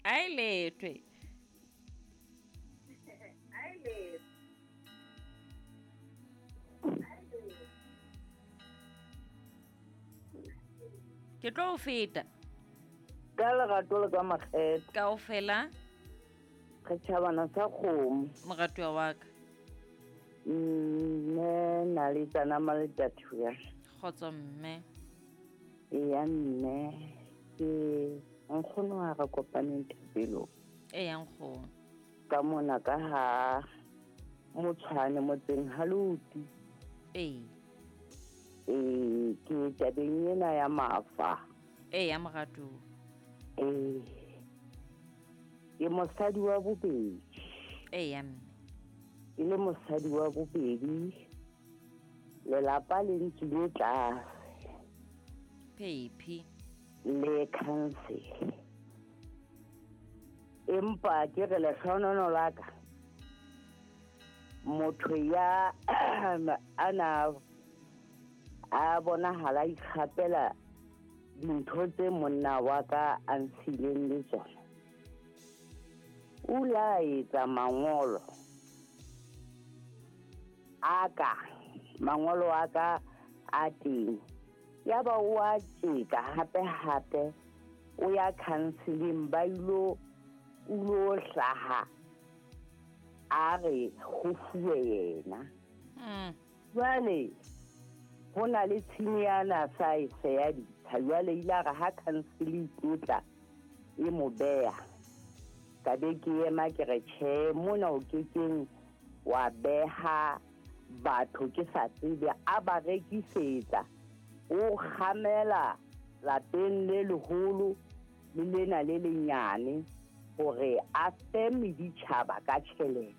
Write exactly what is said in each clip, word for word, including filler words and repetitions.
A e letwe. Ke tlo o feta. Ka lerato le ka makgethe. Kaofela. Re tjhabana sa kgomo. Moratuwa wa ka. Mme na le tsana maletathuya. Kgotso mme. Eya mme, ke nkgono ha re kopaneng thapelong. Eya nkgono. Ka mona ka ha Motshwane motseng ha Loti. Ee. Ee, ke tabeng ena ya mafa. Eya moratuwa. Ee. Ke mosadi wa bobedi. Eya mme. Ke le mosadi wa bobedi. Lelapa le ntswile tlase. Phephi. Le council. Empa ke re lehlohonolono la ka. Motho ya ana a bonahala ikgapela dintho tse monna wa ka a ntshileng le tsona. O la etsa mangolo a ka, mangolo a ka a teng. Yaba o a tjeka hape hape o ya counseling ba ilo o lo hlaha a re ho fuwe yena. Mm. Jwale ho na le tshinyana sa e se ya ditsha. Jwale ile a re ha council e tlotla e mo beha. Ka be ke ema ke re tjhe mona o kekeng wa beha batho ke sa tsebe a ba rekisetsa. O kgamela lapeng le leholo le lena le lenyane hore a fe meditjhaba ka tjhelete.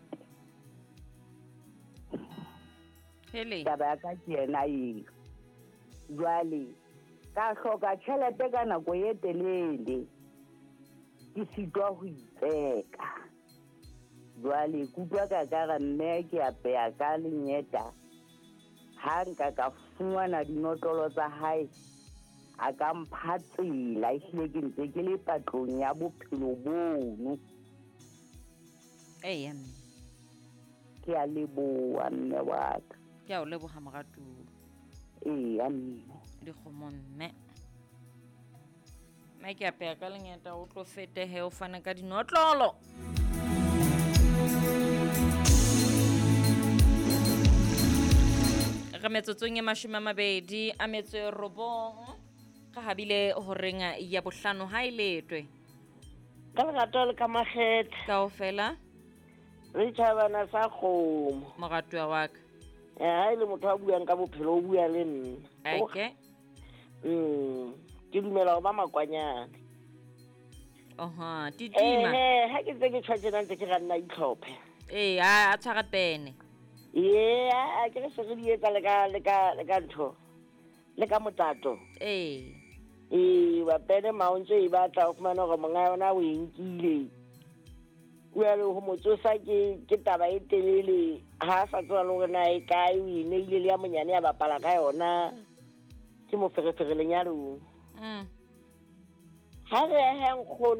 Hele. Taba ya ka ke yena eo. Jwale ka hloka tjhelete ka nako e telele. Ke sitwa ho itseka. Jwale ke utlwa ka ka re mme ke apeya ka lenyeta. Ha nka ka fumana dinotlolo tsa hae a ka mpha tsela, ehlile ke ntse ke le patlong ya bophelo bono. Eya mme. Ke a leboha mme wa ka. Ke a o leboha moratuwa. Eya mme. Dikgomo mme. Mme ke apeya ka lenyeta o tlo fete he o fana ka dinotlolo. Re metsotsong e mashome a mabedi a metso e robong. Re habile horeng ya bohlano ha e letwe. Ka lerato le ka makgethe. Kaofela. Re tjhabana sa kgomo. Moratuwa wa ka. Eh, ha e le motho a buang ka bophelo o bua le nna. Okay. Mm, ke dumela ho ba makwanyane. Aha, titima. Eh, ha ke ntse ke tjho tjena ntse ke ra nna itlhophe. Ee, a a tshwara pene. Ee, a ke re se re di etsa le ka le ka le ka ntho. Le ka motato. Ee. Ee, ba pene maontse e batla ho fumana hore monga yona o e nkile. O ya le ho mo tsosa ke ke taba e telele ha sa tswa le hore na e kae o e neile le ya monyane ya bapala ka yona. Ke moferefere lenyalong. Mm. Ha re he nkgono